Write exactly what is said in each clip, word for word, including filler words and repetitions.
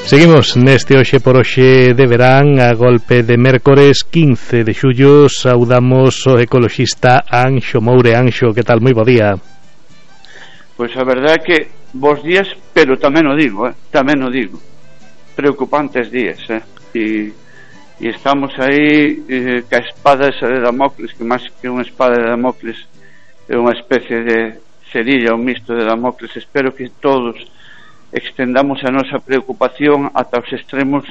Seguimos neste hoxe por hoxe de verán a golpe de mércores quince de xullo. Saudamos o ecoloxista Anxo Moure. Anxo, que tal? Moi bo día. Pois a verdade é que bons días, pero tamén o digo, eh? tamén o digo preocupantes días, eh? e, e estamos aí eh, ca espada esa de Damocles, que máis que unha espada de Damocles é unha especie de cerilla, un misto de Damocles. Espero que todos extendamos a nosa preocupación ata os extremos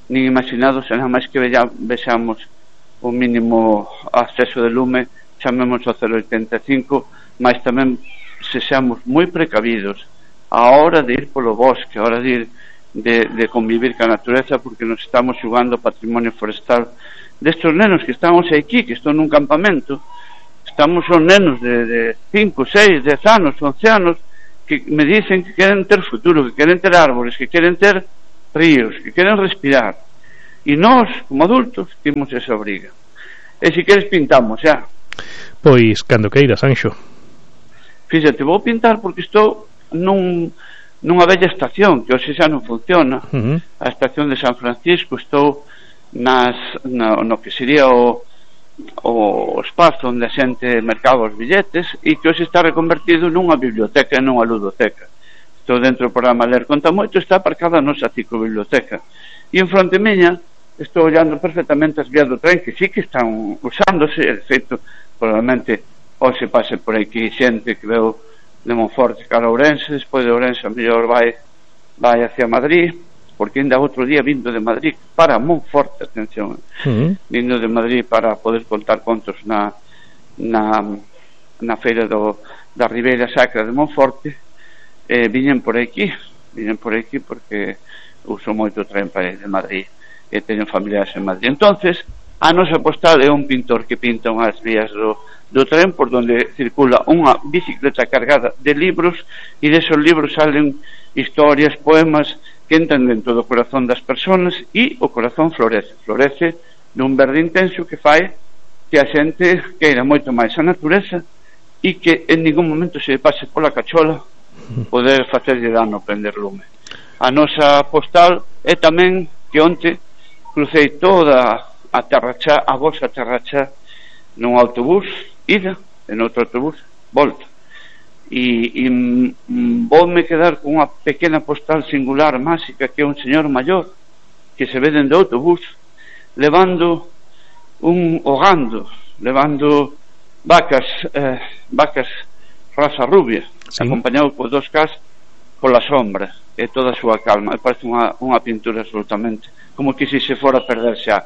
nin imaginados, e nada máis que vexamos o mínimo acceso de lume, chamemos ao cero oitenta e cinco, mas tamén sexamos moi precavidos a hora de ir polo bosque, a hora de ir de, de convivir ca natureza, porque nos estamos xugando patrimonio forestal destes nenos que estamos aquí, que están nun campamento. Estamos son nenos de, de cinco, seis, dez anos, once anos, que me dicen que queren ter futuro, que queren ter árboles, que queren ter ríos, que queren respirar, e nós, como adultos, temos esa obriga. E se queres pintamos, xa. Pois, cando queiras, Anxo. Fíxate, vou pintar porque estou nun, nunha bella estación que hoxe xa non funciona, uh-huh. A estación de San Francisco. Estou nas, no, no que sería o o espazo onde a xente mercaba os billetes, e que hoxe está reconvertido nunha biblioteca e nunha ludoteca. Estou dentro do programa Ler Conta Moito, está aparcada a nosa ciclobiblioteca, e en fronte miña estou ollando perfectamente as vías do tren, que sí que están usándose. De feito, probablemente hoxe pase por aquí xente que veu de Monforte cara a Ourense, despois de Ourense a mellor vai vai hacia Madrid, porque ainda outro día vindo de Madrid para Monforte, atención, uh-huh. vindo de Madrid para poder contar contos na na, na feira do, da Ribeira Sacra de Monforte. eh, viñen por aquí viñen por aquí porque uso moito tren para ir de Madrid e teño familiares en Madrid. Entonces a nosa postal é un pintor que pinta unhas vías do, do tren por donde circula unha bicicleta cargada de libros, e desos libros salen historias, poemas que entran dentro do corazón das persoas, e o corazón florece, florece nun verde intenso que fai que a xente queira moito máis a natureza, e que en ningún momento se pase pola cachola poder facerlle dano prender lume. A nosa postal é tamén que onte crucei toda a Terrachá, a vosa Terrachá, nun autobús ida, en outro autobús volta, e, e m, voume quedar con unha pequena postal singular, máxica, que é un señor maior que se ve dende o autobús levando un hogando, levando vacas eh, vacas raza rubia, sí. Acompañado por dos cas pola sombra e toda a súa calma. Me parece unha, unha pintura absolutamente como que se se fora a perder xa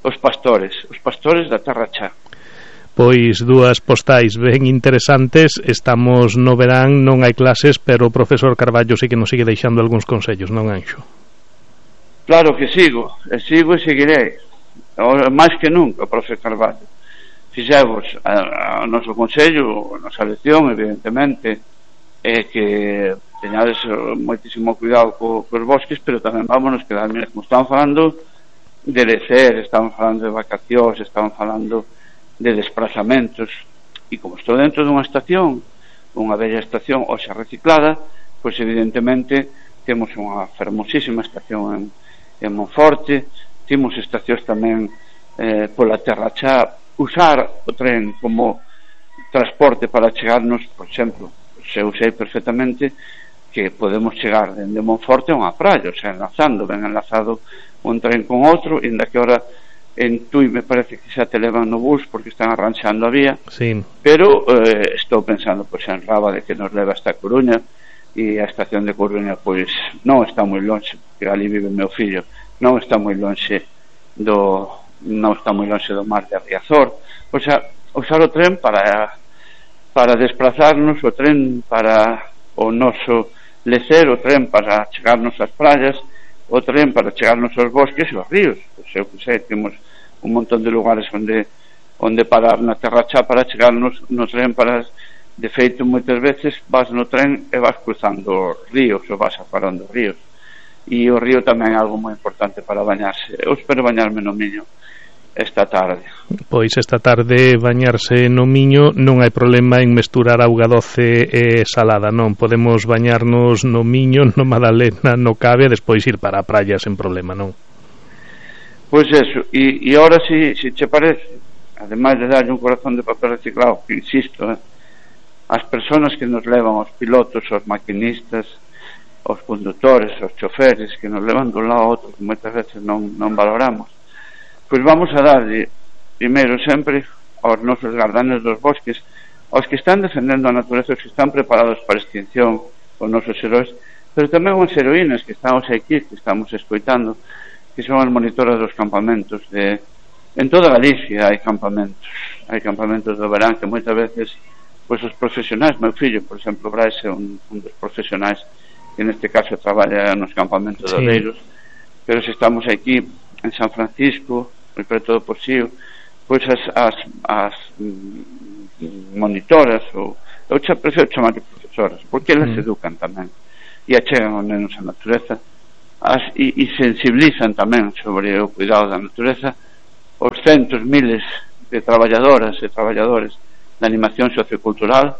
os pastores, os pastores da Terrachá. Pois dúas postais ben interesantes. Estamos no verán, non hai clases, pero o profesor Carballo sí que nos sigue deixando algúns consellos, non, Anxo? Claro que sigo, e sigo e seguirei, máis que nunca, profesor Carballo. Fixemos o noso consello, a nosa lección, evidentemente, é que teñades moitísimo cuidado co, cos bosques, pero tamén vámonos quedar, mira, como estamos falando de lecer, estamos falando de vacacións, estamos falando de desplazamentos, e como estou dentro dunha estación, unha bella estación hoxe reciclada, pois evidentemente temos unha fermosísima estación en, en Monforte, temos estacións tamén eh, pola Terrachá. Usar o tren como transporte para chegarnos, por exemplo, se usei perfectamente que podemos chegar dende Monforte a unha praia, o sea, enlazando, ben enlazado un tren con outro, e inda que ahora en Tui me parece que xa te levan no bus porque están arranxando a vía, sí. Pero eh, estou pensando pois en Rábade, que nos leva hasta Coruña, e a estación de Coruña pois non está moi lonxe, porque ali vive meu fillo, non está moi lonxe do non está moi lonxe do mar de Riazor. O sea, usar o tren para para desplazarnos, o tren para o noso lecer, o tren para chegarnos ás praias, o tren para chegarnos aos bosques e aos ríos. Pois eu que sei, temos un montón de lugares onde onde parar na Terrachá para chegarnos no tren. Para, de feito, moitas veces vas no tren e vas cruzando os ríos ou vas aparando os ríos, e o río tamén é algo moi importante para bañarse. Eu espero bañarme no Miño, esta tarde. Pois esta tarde bañarse no Miño non hai problema en mesturar auga doce e salada, non? Podemos bañarnos no Miño, no Madalena, no Cave e despois ir para a praia sen problema, non? Pois eso, e, e ahora si, si che parece, ademais de darlle un corazón de papel reciclado, que insisto, eh, as persoas que nos levan, os pilotos, os maquinistas, os conductores, os choferes que nos levan dun lado a outro, que moitas veces non, non valoramos, pois vamos a darlle primeiro sempre aos nosos gardanes dos bosques, aos que están defendendo a natureza, os que están preparados para a extinción, os nosos heróis, pero tamén as heroínas que estamos aquí, que estamos escoitando, que son as monitoras dos campamentos de, en toda Galicia hai campamentos hai campamentos do verán que moitas veces pois os profesionais, meu fillo por exemplo Brais é un, un dos profesionais que neste caso traballa nos campamentos sí. de Oleiros, pero se estamos aquí en San Francisco moi preto do Porxío, pois as, as, as monitoras ou eu xa prefiro chamar de profesoras porque elas mm. educan tamén e achegan aos nenos a natureza as, e, e sensibilizan tamén sobre o cuidado da natureza os centos, miles de traballadoras e traballadores da animación sociocultural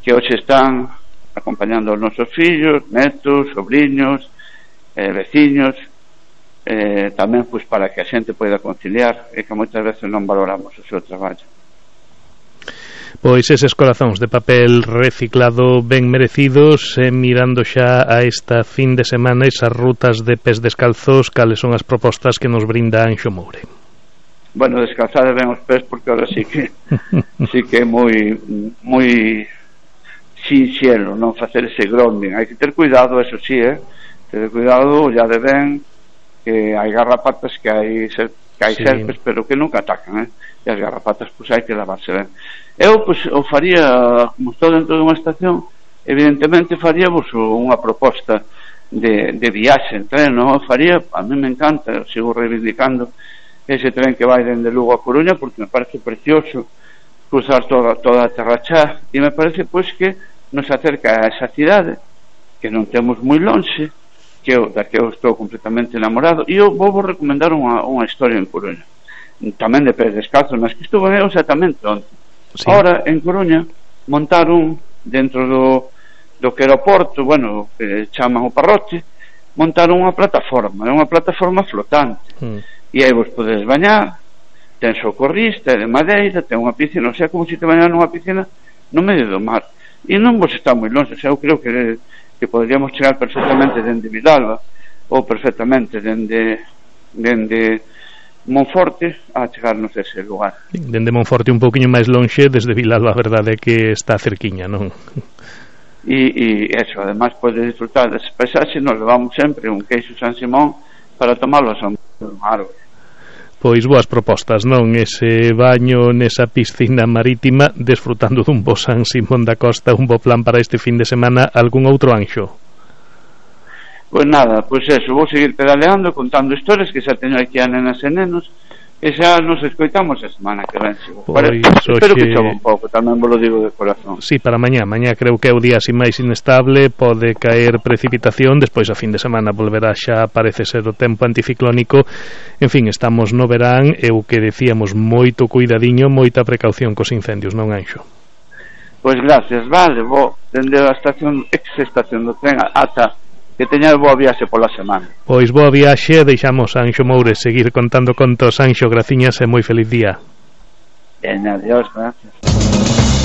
que hoxe están acompañando os nosos fillos, netos, sobriños, eh, veciños, eh, tamén pois para que a xente poida conciliar e que moitas veces non valoramos o seu traballo. Pois eses corazóns de papel reciclado ben merecidos, eh, mirando xa a esta fin de semana esas rutas de pés descalzos, cales son as propostas que nos brinda Anxo Moure? Bueno, descalzar ben os pés porque ahora sí que sí que é moi moi sinxelo non facer ese grounding, hai que ter cuidado, eso sí, eh? ter cuidado, ya de ben que hai garrapatas, que hai ser, que hai sí. serpes, pero que nunca atacan, eh? E as garrapatas pois hai que lavarse ben. Eu pois o faría, como estou dentro dunha estación, evidentemente faría vos unha proposta de, de viaxe en tren, non? Faría, a mí me encanta, sigo reivindicando ese tren que vai dende Lugo a Coruña porque me parece precioso cruzar toda, toda a Terra Chá e me parece pois que nos acerca a esa cidade que non temos moi lonxe, que eu, da que eu estou completamente enamorado, e eu vou vos recomendar unha, unha historia en Coruña tamén de pés descalzos, mas que estuve eu exactamente onde sí. Ahora en Coruña montaron dentro do, do que era o porto, bueno, que chaman o Parroche, montaron unha plataforma, é unha plataforma flotante mm. E aí vos podedes bañar, ten socorrista, de madeira, ten unha piscina, o sea, como se te bañar nunha piscina no medio do mar, e non vos está moi longe, o sea, eu creo que, que poderíamos chegar perfectamente dende Vilalba ou perfectamente dende dende Monforte a chegarnos a ese lugar. Dende Monforte un pouquiño máis longe, desde Vilalba a verdade é que está cerquiña, non? E, e eso, ademais podes disfrutar dese paisaxe, nos levamos sempre un queixo San Simón para tomarlo a San Árbol. Pois boas propostas, non? Ese baño nesa piscina marítima desfrutando dun bo San Simón da Costa, un bo plan para este fin de semana. Algún outro, Anxo? Pois nada, pois eso, vou seguir pedaleando, contando historias que xa teño aquí a nenas e nenos e xa nos escoitamos a semana que ven. Pois, espero oxe... que chove un pouco, tamén vos lo digo de corazón. Sí, para mañá, mañá creo que é o día así máis inestable, pode caer precipitación, despois a fin de semana volverá xa, parece ser o tempo anticiclónico. En fin, estamos no verán e o que decíamos, moito cuidadiño, moita precaución cos incendios, non, Anxo? Pois gracias, vale, vou dende a estación, ex-estación do tren ata que teñades boa viaxe pola semana. Pois boa viaxe, deixamos a Anxo Moure seguir contando contos. Anxo, graciñas e moi feliz día. Ben, adiós, gracias.